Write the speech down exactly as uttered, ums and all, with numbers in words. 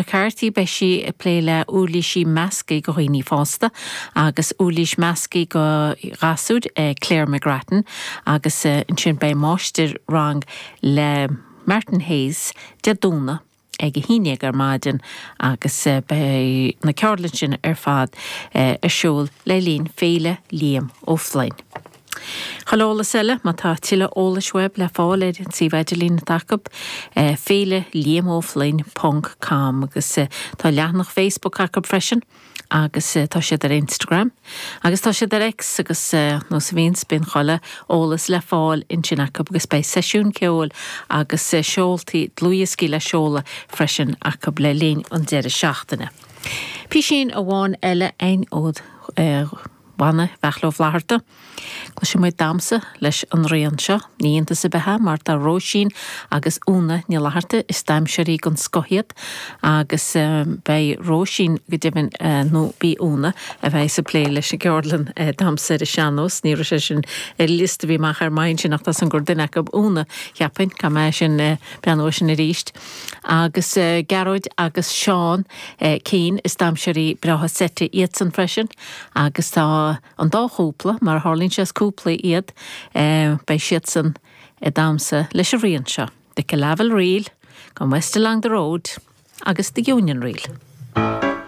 McCarthy, beidh sí ag plé le uirlisí measctha do dhaoine fásta agus uirlis measctha do ghasúir Claire McGrattan agus ansin beidh máistir rang le Martin Hayes Dé Domhnaigh ag a haon déag ar maidin agus beidh na ceardlanna sin ar fad ar siúl le linn Féile Liam Ó Floinn. Chuile eolas eile má tá tuilleadh eolais uaibh le fáil ar an suíomh idirlín atá acu féile Liam Ó Floinn ponc com agus tá leathanach Facebook acu freisin agus tá siad ar Instagram agus tá siad ar X agus nós a bhíonns bíonn chuile eolas le fáil ansin acu agus beidh seisiún ceoil agus seoltaí dlúthdhioscaí le seoladh freisin acu le linn an deireadh seachtaine. Písín amháin eile ein ó bhanna Bheachla Ó Flatharta. Cloisfidh muid damhsa leis an rian seo, ní iontas ar bith é mar tá Róisín agus Úna Ní Fhlatharta is damhsóirí den scoth iad agus beidh Róisín go deimhin nó bí Úna a bheidh ag plé leis an gceardlann damhsa ar an sean-nós, ní raibh sé sin ar liosta a bhí amach ar maidin sin ach tá san gur duine acu Úna cheapfainn caithfidh mé sin breathnú sin arís. Agus Gearóid agus Seán Keane is damhsóirí breátha seite iadsan freisin agus tá an dá chúpla mar a tharlaíonn sé is cúpla iad beidh siadsan ag damhsa leis an rian seo. The Killavil Reel, Gone West Along the Road agus The Union Reel.